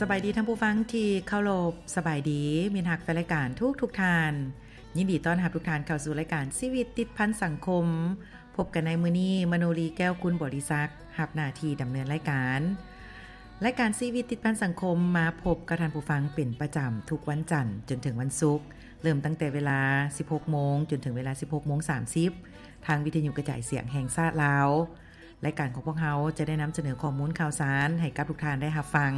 ສະບາຍດີທ່ານຜູ້ຟັງທີ່ເຄົາລົບ, ສະບາຍດີມິດຮັກແຟນລາຍການທຸກໆທ່ານ. ຍິນດີຕ້ອນຮັບທຸກທ່ານເຂົ້າສູ່ລາຍການຊີວິດຕິດພັນສັງຄົມ. ພົບກັນໃນມື້ນີ້, ມະໂນລີ ແກ້ວກຸນບໍລິສັກ ຮັບໜ້າທີ່ດຳເນີນລາຍການ. ລາຍການຊີວິດຕິດພັນສັງຄົມມາພົບກັບທ່ານຜູ້ຟັງເປັນປະຈຳທຸກວັນຈັນຈົນເຖິງວັນສຸກ, ເລີ່ມຕັ້ງແຕ່ເວລາສິບຫົກໂມງຈົນເຖິງເວລາສິບຫົກໂມງສາມສິບ ທາງວິທະຍຸກະຈາຍສຽງແຫ່ງຊາດລາວ. ລາຍການຂອງພວກເຮົາຈະໄດ້ນຳສະເໜີຂໍ້ມູນຂ່າວສານໃຫ້ກັບທຸກທ່ານໄດ້ຮັບຟັງ,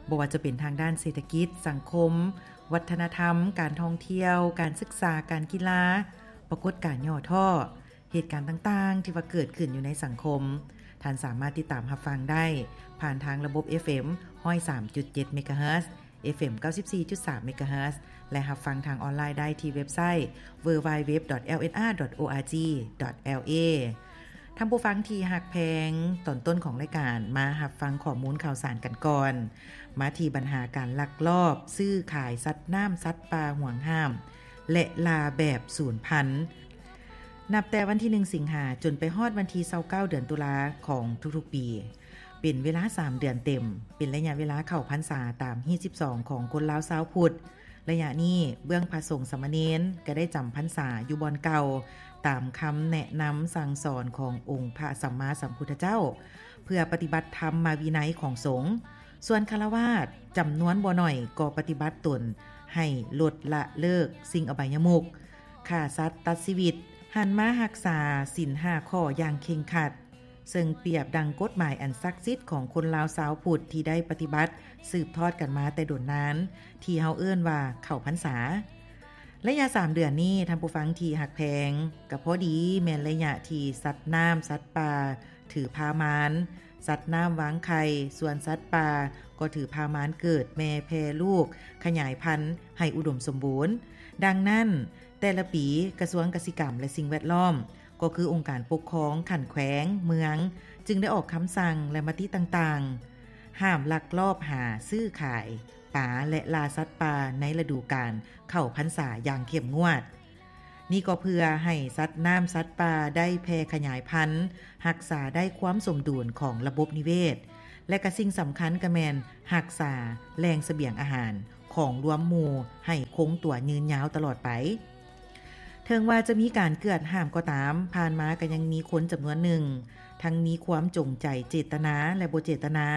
ບໍ່ວ່າຈະເປັນທາງດ້ານເສດຖະກິດ, ສັງຄົມ, ວັດທະນະທຳ, ການທ່ອງທ່ຽວ, ການສຶກສາ, ການກິລາ, ປາກົດການຫຍໍ້ທໍ້, ເຫດການຕ່າງໆທີ່ວ່າເກີດຂຶ້ນຢູ່ໃນສັງຄົມ, ທ່ານສາມາດຕິດຕາມຮັບຟັງໄດ້ຜ່ານທາງລະບົບ ເອຟເອັມ ຮ້ອຍສາມຈຸດເຈັດ ເມກາເຮີດ, ເອຟເອັມ ເກົ້າສິບສີ່ຈຸດສາມ ເມກາເຮີດ ແລະ ຮັບຟັງທາງອອນລາຍໄດ້ທີ່ເວັບໄຊ ดัບເບິນຢູ ດັບເບິນຢູ ດັບເບິນຢູ ດອດ ແອລ ເອັນ ອາ ດອດ ໂອ ອາ ຈີ ດອດ ແອລ ເອ. ທ່ານຜູ້ຟັງທີ່ຮັກແພງ, ຕອນຕົ້ນຂອງລາຍການມາຮັບຟັງຂໍ້ມູນຂ່າວສານກັນກ່ອນ. ມາທີ່ບັນຫາການລັກລອບຊື້ຂາຍສັດນ້ຳສັດປ່າຫວງຫ້າມ ແລະ ລ່າແບບສູນພັນ. ນັບແຕ່ວັນທີໜຶ່ງ ສິງຫາ ຈົນໄປຮອດວັນທີຊາວເກົ້າ ເດືອນຕຸລາຂອງທຸກໆປີ, ເປັນເວລາສາມເດືອນເຕັມ, ເປັນໄລຍະເວລາເຂົ້າພັນສາຕາມຮີດສິບສອງຂອງຄົນລາວຊາວພຸດ. ໄລຍະນີ້ເບື້ອງພະສົງສາມະເນນກໍໄດ້ຈຳພັນສາຢູ່ບ່ອນເກົ່າ, ຕາມຄຳແນະນຳສັ່ງສອນຂອງອົງພະສຳມາສຳພຸດທະເຈົ້າ, ເພື່ອປະຕິບັດທຳມະວິໄນຂອງສົງ. ສ່ວນຄາລະວາດຈຳນວນບໍ່ໜ້ອຍກໍປະຕິບັດຕົນໃຫ້ລົດລະເລີກສິ່ງອະບາຍຍະມຸກ, ຂ້າສັດຕັດຊີວິດ, ຫັນມາຮັກສາສິນຫ້າຂໍ້ຢ່າງເຄັ່ງຄັດ, ເຊິ່ງປຽບດັ່ງກົດໝາຍອັນສັກສິດຂອງຄົນລາວຊາວພຸດທີ່ໄດ້ປະຕິບັດສືບທອດກັນມາແຕ່ດົນນານ, ທີ່ເຮົາເອີ້ນວ່າເຂົ້າພັນສາ. ໄລຍະສາມເດືອນນີ້, ທ່ານຜູ້ຟັງທີ່ຮັກແພງ, ກໍພໍດີແມ່ນໄລຍະທີ່ສັດນ້ຳສັດປ່າຖືພາມານ, ສັດນ້ຳວາງໄຂ່, ສ່ວນສັດປ່າກໍຖືພາມານເກີດແມ່ແຜ່ລູກ, ຂະຫຍາຍພັນໃຫ້ອຸດົມສົມບູນ. ດັ່ງນັ້ນ, ແຕ່ລະປີ, ກະຊວງກະສິກຳ ແລະ ສິ່ງແວດລ້ອມ ກໍຄືອົງການປົກຄອງຂັ້ນແຂວງ, ເມືອງ ຈຶ່ງໄດ້ອອກຄຳສັ່ງ ແລະ ມະຕິຕ່າງໆ ຫ້າມລັກລອບຫາຊື້ຂາຍປາ ແລະ ລ່າສັດປ່າໃນລະດູການເຂົ້າພັນສາຢ່າງເຂັ້ມງວດ. ນີ້ກໍເພື່ອໃຫ້ສັດນ້ຳສັດປ່າໄດ້ແຜ່ຂະຫຍາຍພັນ, ຮັກສາໄດ້ຄວາມສົມດຸນຂອງລະບົບນິເວດ ແລະ ກະສິ່ງສຳຄັນກະແມ່ນຮັກສາແຫຼ່ງສະບຽງອາຫານ ຂອງລວມໝູ່ໃຫ້ຄົງຕົວຍືນຍາວຕະຫຼອດໄປ. ເຖິງວ່າຈະມີການເກືອດຫ້າມກໍຕາມ, ຜ່ານມາກໍຍັງມີຄົນຈຳນວນໜຶ່ງ ທັງມີຄວາມຈົງໃຈເຈດຕະນາ ແລະ ບໍ່ເຈດຕະນາ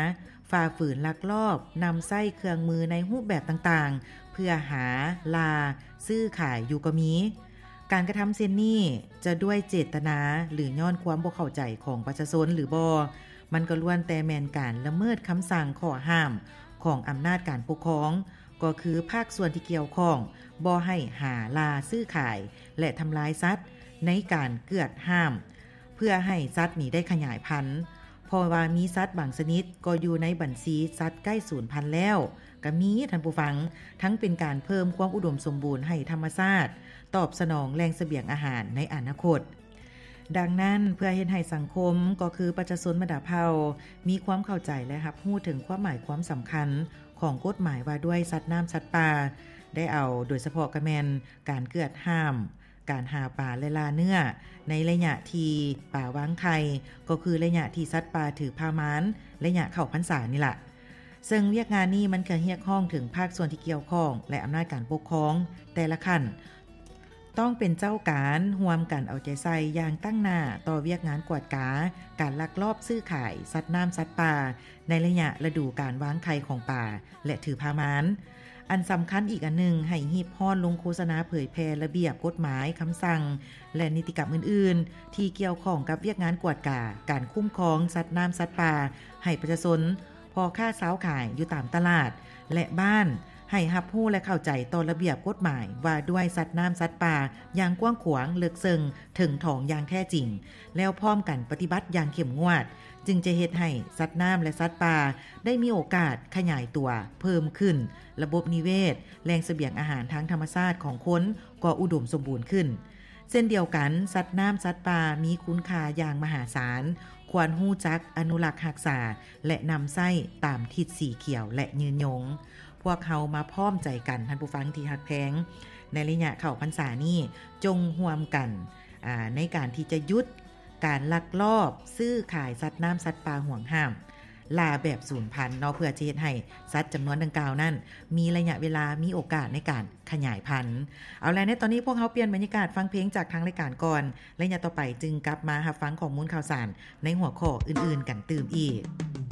ຝ່າຝືນລັກລອບນຳໃຊ້ເຄື່ອງມືໃນຮູບແບບຕ່າງໆ ເພື່ອຫາ, ລ່າ, ຊື້ຂາຍຢູ່ກໍມີ. ການກະທຳເຊັ່ນນີ້ຈະດ້ວຍເຈດຕະນາ ຫຼື ຍ້ອນຄວາມບໍ່ເຂົ້າໃຈຂອງປະຊາຊົນ ຫຼື ບໍ່, ມັນກໍລ້ວນແຕ່ແມ່ນການລະເມີດຄຳສັ່ງຂໍ້ຫ້າມຂອງອຳນາດການປົກຄອງ, ກໍຄືພາກສ່ວນທີ່ກ່ຽວຂ້ອງບໍ່ໃຫ້ຫາລ່າຊື້ຂາຍ ແລະ ທຳລາຍສັດໃນການເກືອດຫ້າມ ເພື່ອໃຫ້ສັດນີ້ໄດ້ຂະຫຍາຍພັນ, ເພາະວ່າມີສັດບາງຊະນິດກໍຢູ່ໃນບັນຊີສັດໃກ້ສູນພັນແລ້ວ ກໍມີ, ທ່ານຜູ້ຟັງ, ທັງເປັນການເພີ່ມຄວາມອຸດົມສົມບູນໃຫ້ທຳມະຊາດ, ຕອບສະໜອງແຫຼ່ງສະບຽງອາຫານໃນອະນາຄົດ. ດັ່ງນັ້ນ, ເພື່ອເຮັດໃຫ້ສັງຄົມ, ກໍຄືປະຊາຊົນບັນດາເຜົ່າ, ມີຄວາມເຂົ້າໃຈ ແລະ ຮັບຮູ້ເຖິງຄວາມໝາຍຄວາມສຳຄັນຂອງກົດໝາຍວ່າດ້ວຍສັດນ້ຳສັດປ່າ, ໄດ້ເອົາໂດຍສະເພາະກະແມ່ນການເກືອດຫ້າມການຫາປາ ແລະ ລ່າເນື້ອ ໃນໄລຍະທີ່ປາວາງໄຂ່, ກໍຄືໄລຍະທີ່ສັດປ່າຖືພາມານ, ໄລຍະເຂົ້າພັນສານີ້ລະ. ເຊິ່ງວຽກງານນີ້ມັນກະຮຽກຮ້ອງເຖິງພາກສ່ວນທີ່ກ່ຽວຂ້ອງ ແລະ ອຳນາດການປົກຄອງແຕ່ລະຂັ້ນ ຕ້ອງເປັນເຈົ້າການຮ່ວມກັນເອົາໃຈໃສ່ຢ່າງຕັ້ງໜ້າຕໍ່ວຽກງານກວດກາການລັກລອບຊື້ຂາຍສັດນ້ຳສັດປ່າໃນໄລຍະລະດູການວາງໄຂ່ຂອງປາ ແລະ ຖືພາມານ. ອັນສຳຄັນອີກອັນໜຶ່ງ, ໃຫ້ຮີບຮ້ອນລົງໂຄສະນາເຜີຍແຜ່ລະບຽບ, ກົດໝາຍ, ຄຳສັ່ງ ແລະ ນິຕິກຳອື່ນໆ ທີ່ກ່ຽວຂ້ອງກັບວຽກງານກວດກາການຄຸ້ມຄອງສັດນ້ຳສັດປ່າໃຫ້ປະຊາຊົນ, ພໍ່ຄ້າຊາວຂາຍຢູ່ຕາມຕະຫຼາດ ແລະ ບ້ານ ໃຫ້ຮັບຮູ້ ແລະ ເຂົ້າໃຈຕໍ່ລະບຽບກົດໝາຍວ່າດ້ວຍສັດນ້ຳສັດປ່າຢ່າງກວ້າງຂວາງ, ເລິກເຊິ່ງ, ເຖິງຖອງຢ່າງແທ້ຈິງ, ແລ້ວພ້ອມກັນປະຕິບັດຢ່າງເຂັ້ມງວດ, ຈຶ່ງຈະເຮັດໃຫ້ສັດນ້ຳ ແລະ ສັດປ່າໄດ້ມີໂອກາດຂະຫຍາຍຕົວເພີ່ມຂຶ້ນ, ລະບົບນິເວດ, ແຫຼ່ງສະບຽງອາຫານທາງທຳມະຊາດຂອງຄົນກໍອຸດົມສົມບູນຂຶ້ນ. ເຊັ່ນດຽວກັນ, ສັດນ້ຳສັດປ່າມີຄຸນຄ່າຢ່າງມະຫາສານ, ຄວນຮູ້ຈັກອະນຸລັກຮັກສາ ແລະ ນຳໃຊ້ຕາມທິດສີຂຽວ ແລະ ຍືນຍົງ. ພວກເຮົາມາພ້ອມໃຈກັນ, ທ່ານຜູ້ຟັງທີ່ຮັກແພງ, ໃນໄລຍະເຂົ້າພັນສານີ້, ຈົ່ງຮ່ວມກັນ, ອາ, ໃນການທີ່ຈະຢຸດການລັກລອບຊື້ຂາຍສັດນ້ຳສັດປ່າຫວງຫ້າມ. ລ່າແບບສູນພັນເນາະ ເພື່ອຈະເຮັດໃຫ້ສັດຈຳນວນດັ່ງກ່າວນັ້ນ ມີໄລຍະເວລາ ມີໂອກາດໃນການຂະຫຍາຍພັນ. ເອົາລະ ໃນຕອນນີ້ພວກເຮົາປ່ຽນບັນຍາກາດຟັງເພງຈາກທາງລາຍການກ່ອນ, ໄລຍະຕໍ່ໄປຈຶ່ງກັບມາຮັບຟັງຂໍ້ມູນຂ່າວສານໃນຫົວຂໍ້ອື່ນໆກັນຕື່ມອີກ.